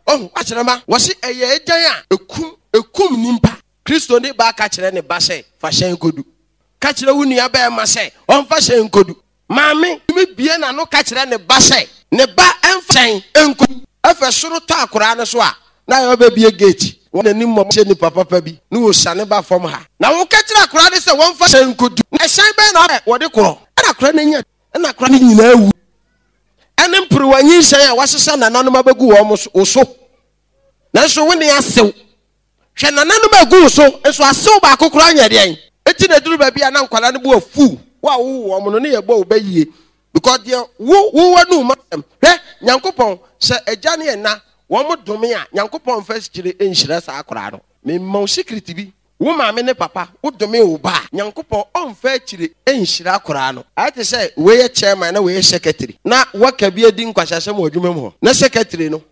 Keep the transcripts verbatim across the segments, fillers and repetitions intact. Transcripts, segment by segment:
Ɔho akyerɛma wɔse ɛyɛ agyan a ekum ekum nimpa. Kristo ne ba ka kyerɛ ne ba sɛ fa hyɛn kodu. Ka kyerɛ wo nua bɛrima sɛ ɔmfa hyɛn kodu. Maame tumi bie n'ano ka kyerɛ ne ba sɛ ne ba ɛmfa hyɛn nkodu. Ɛfɛ soro tɔ akoraa no so a na ayɛ ɔbɛbie gate wɔn n'anim mmɔ hyɛ nipa papa bi ne wɔsiane ba fam ha. Na woka kyerɛ akoraa no sɛ wɔmfa hyɛn nkodu. Na ɛhyɛn bɛn na wɔde korɔ? Ɛna akoraa no anya ɛna akoraa no nyinaa wu. Ɛne mperewa nyinsɛn a wɔasesa nananom abɛgu wɔn wo so. Nanso wo ne asew. Hwɛ nananom agu wo so nso asew baako koraa nyɛ deɛn. Eti na eduru baabi a na nkwadaa no bo afuw wo a wowo wɔn no ne yɛ bɔ wo bɛ yie because deɛ wo wo w'anum asɛm. Hwɛ Nyankopɔn sɛ agya ne ɛna wɔn dome a Nyankopɔn mfa sikyire nhyira saa akwadaa no. Mema wo secret bi. Wo maame ne papa wo dome wo ba a Nyankopɔn ɔmfa akyire nhyira akwadaa no. Ayɛ te sɛ wei yɛ chairman na wei yɛ secretary na worker bi adi nkwaseasɛm wɔ adwuma mu hɔ na secretary no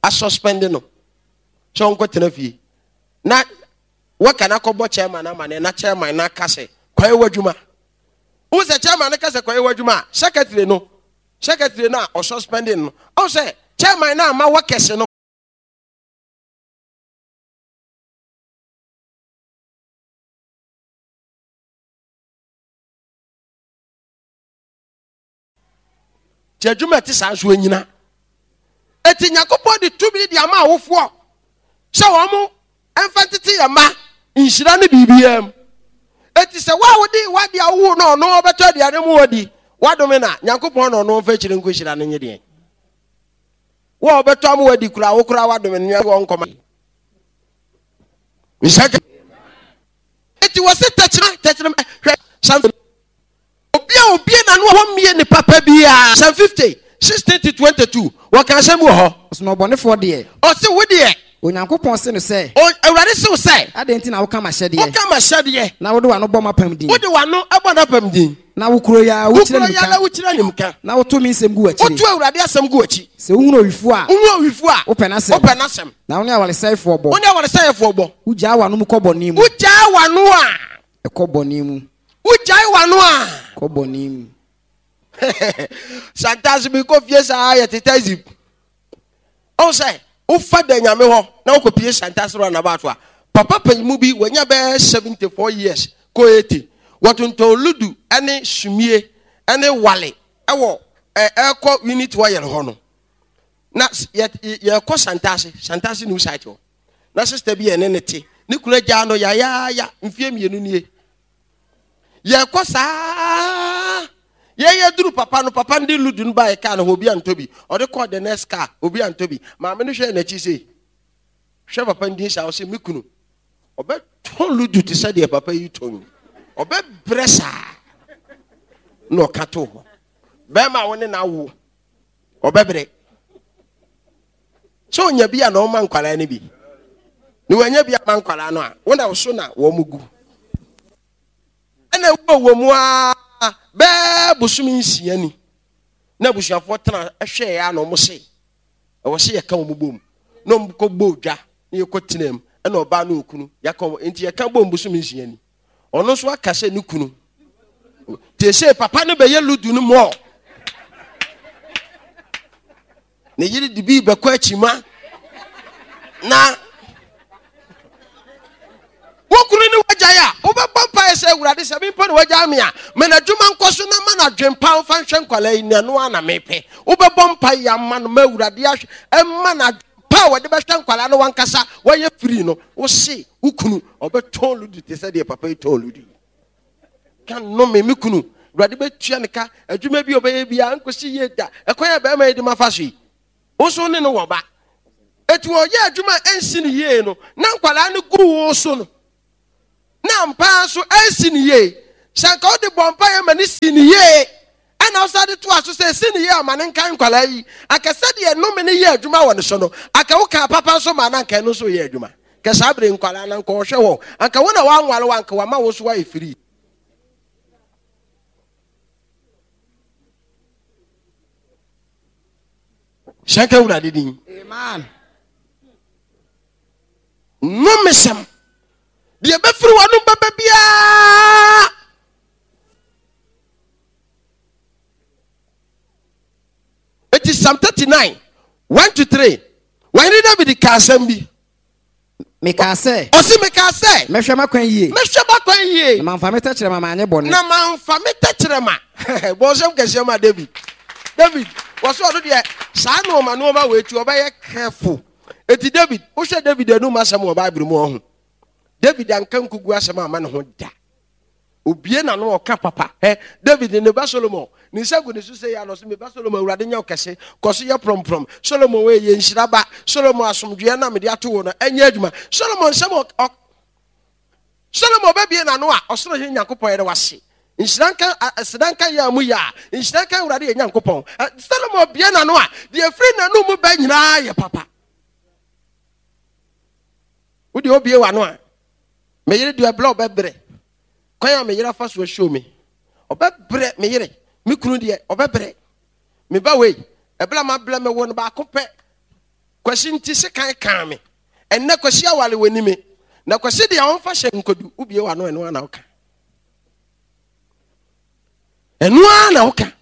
asuspend no sɛ ɔnkɔtena fie na worker no akɔbɔ chairman amaneɛ na chairman no aka sɛ kɔyɛ w'adwuma. Wohu sɛ chairman no ka sɛ kɔyɛ w'adwuma a secretary no secretary no a ɔsuspend no ɔhu sɛ chairman no ama workers no nti adwuma ɛte saa nso anyina. Eti Nyankopɔn de tumi de ama awofoɔ sɛ wɔn mfa ntete yɛn mma nhyira ne biribiara mu. Eti sɛ wo a wode w'ade a wowo no ɔno ɔbɛtɔ aduane mu wadi wadome na Nyankopɔn na ɔno ɔmfa akyire nkɔhyira no nye deɛn. Wo a ɔbɛtɔ ama wadi koraa wo koraa wadome no Nyankopɔn nkɔma. Nhyɛ eti wɔ se tɛkyerɛ tɛkyerɛ hwɛ sanfɛ obi a obie n'ano a wɔmmie ne papa biara. Psalm fifty sixteen to twenty two wɔka asɛm bi wɔ hɔ. Ɔsɛ ɔbɔnefoɔ deɛ. Ɔse wo deɛ. Onyankopɔn se no sɛ. O Awurade se wo sɛ. Adɛn nti na woka m'ahyɛdeɛ? Woka m'ahyɛdeɛ. Na wode w'ano bɔ m'apam din. Wode w'ano bɔ n'apam din. Na wo kuro yi ara wokyerɛ nimka. Na wokyerɛ nimka. Na woto me nsɛm gu w'akyiri. Woto Awurade asɛm gu w'akyi. Sɛ wohunu owifoɔ a. Wohunu owifoɔ a. Wopɛ n'asɛm. Wopɛ n'asɛm. Na wo ne awaresɛefoɔ bɔ. Wo ne awaresɛefoɔ bɔ. Wogyaa w'ano mu kɔ bɔne mu. Wogyaa w'ano a. Ɛkɔ bɔne mu. Wogyae w'ano a. Kɔ bɔne mu. Sometimes mi kɔ fie saa yɛ tete zip. Ɔn sɛ wofa da nyame hɔ na wokɔpie Santase roundabout a papa panyimu bi wanya bɛyɛ seventy four years kɔ eighty wɔtontɔn ludu ne sumie ne wale ɛwɔ ɛkɔ unit oil hɔ no na yɛkɔ Santase Santase new site hɔ na sister bi yɛ ne ne te ne kunu agyaa no yayaaya mfie mmienu nie yɛkɔ saa yɛyɛ duru papa no papa no de ludu no baeɛ kaa no hɔ obi antɔ bi ɔde kɔɔ the next car obi antɔ bi maame no hwɛ n'akyi sei hwɛ papa no din saa ɔsɛ me kunu ɔbɛtɔn ludu te sɛ deɛ papa yi tɔn yi ɔbɛbrɛ saa na ɔka to hɔ bɛrima a wo ne no awo ɔbɛbrɛ sɛ ɔnya bi a na ɔma nkwadaa no bi na wanya bi ama nkwadaa no a wo na so na wɔn gu ɛna ewu wɔ mu aa bɛɛ bosom nsia ni na abusuafoɔ tena hwɛ ya na wɔn se ɛwɔ se yɛka wɔn bom na wɔn kɔ bɔ odwa na yɛkɔ tena mu ɛna ɔbaa no okunu yɛka wɔn nti yɛka bom bosom nsia ni ɔno nso aka sɛ ne kunu te sɛ papa no bɛyɛ ludu no mɔɔ ne yere de bi bɛkɔ akyima na wo kunu ne wagyae a wobɛbɔ mpaeɛ sɛ Awurade sɛ mempɛ ne wagyae me a ma n'adwuma nkɔ so na ma n'adwempa mfa nhwɛ nkwalaa yi na ɛno ara na mepɛ. Wobɛbɔ mpaeɛ ama no ma Awurade ahwɛ ɛma n'adwempa a wɔde bɛhwɛ nkwalaa no wankasa wɔyɛ firi no. Wo se wo kunu ɔbɛtɔn ludu te sɛ deɛ papa yi tɔn ludu yi. Ka nnome me kunu Awurade bɛtua ne ka adwuma bi a ɔbɛyɛ biara nkɔsi yie da ɛkwan a bɛrima yi de ma fa so yi. Wo nso ne no wɔ ba. Eti ɔyɛ adwuma a ɛnsi no yie no na nkwadaa no gu wo so no na ampa nso ɛnsi no yie. Sɛ anka wode bɔ mpaeɛ ma ne si no yie ɛna wosan de toa so sɛ ɛsi no yie ama ne nka nkwadaa yi anka sɛdeɛ nnome no yɛ adwuma wɔ ne so no anka wokaa papa nso ma no anka ɛno nso yɛ adwuma. Kɛ saa bere nkwadaa no anka ɔhwɛ hɔ anka wo na woanware wo anka wama wo nso woayɛ firi. Hyɛ nka Awurade din. Amen. Nnomesɛm. Deɛ ɛbɛfiri w'anom bɛba biara. Eti Psalm thirty nine one to three. Wɔhene David ka asɛm bi. Mekaa sɛ. Ɔsi mekaa sɛ. Mɛhwɛ m'akwan yie. Mɛhwɛ m'akwan yie. Na mamfa me tɛkyerɛma manyɛ bɔne. Na mamfa me tɛkyerɛma. Bɔnsɛm kɛseɛ ma David. David, wɔsɛ ɔno deɛ saa nneɛma nneɛma wɔ eti ɔbɛyɛ careful. Eti David, wohwɛ David anum asɛm wɔ Bible mu ɔho. David anka nkugu asɛm ama ne ho da. Obie na no ɔka papa. Ɛ David ne ba Solomon ne nsa gu ne so sɛ yɛ anɔ so me ba Solomon awurade nyɛ ɔkɛse kɔ so yɛ prɔmprɔm. Solomon wɔ yɛ nhyira ba. Solomon asomdwoeɛ na mede ato wo no ɛnyɛ adwuma. Solomon nsɛm ɔ Solomon bɛbie n'ano a ɔsoro hene Nyankopɔn yɛde wase. Nhyira nka aseda nka yɛ a mu yɛ a nhyira nka awurade yɛ Nyankopɔn. Solomon bie n'ano a deɛ firi n'ano mu bɛ nyinaa yɛ papa. Wode obie w'ano a me yere deɛ ɛblɛ ɔbɛbrɛ. Kwan a me yere afa so ahyɛ me. Ɔbɛbrɛ me yere. Me kunu deɛ ɔbɛbrɛ. Me ba wei ɛblɛ ma blɛ me wo no baako pɛ. Kwasi nti sekan kaa me. Ɛnnɛ kwasi awale wɔ ni me. Na kwasi deɛ ɔmfa hyɛ nkodu wobie w'ano ɛno ara na woka. Ɛno ara na woka.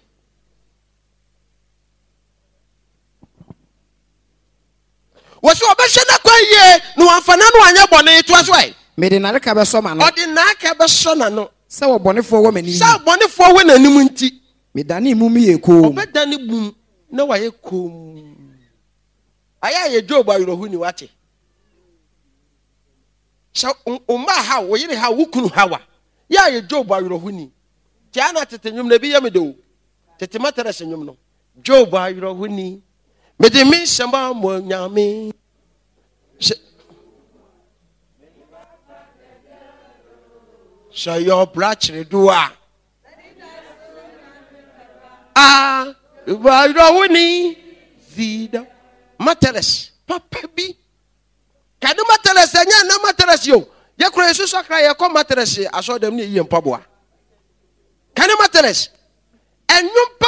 Wɔsɛ ɔbɛhyɛ n'akwan yie na wamfa n'ano anyɛ bɔne. Toa so ɛ. Mede n'areka bɛsɔ m'ano. Ɔde n'aka bɛsɔ n'ano. Sɛ ɔbɔnefoɔ wɔ m'anim. Sɛ ɔbɔnefoɔ wɔ n'anim nti. Medane mum yɛ komm. Ɔbɛdane mum na wayɛ komm. Ayɛ a yɛ Job awerɛho ni wate. Sɛ wo mma haw, wo yere haw, wo kunu haw a, yɛ a yɛ Job awerɛho ni. Tia na tete nnwom na ebi yɛ me de o. Tete Matthias nnwom no. Job awerɛho ni. Mede me nsɛm amɔ Nyame. Sɛ yɛ ɔbra kyerɛ do a. Ah, awerɛho ni. Vida. Matthias, papa bi. Kade Matthias, ɛnyɛ na Matthias yo. Yɛkura Yesu sakra yɛkɔ Matthias asɔ dɛm ne yɛ mpaboa. Kade Matthias, ɛnwom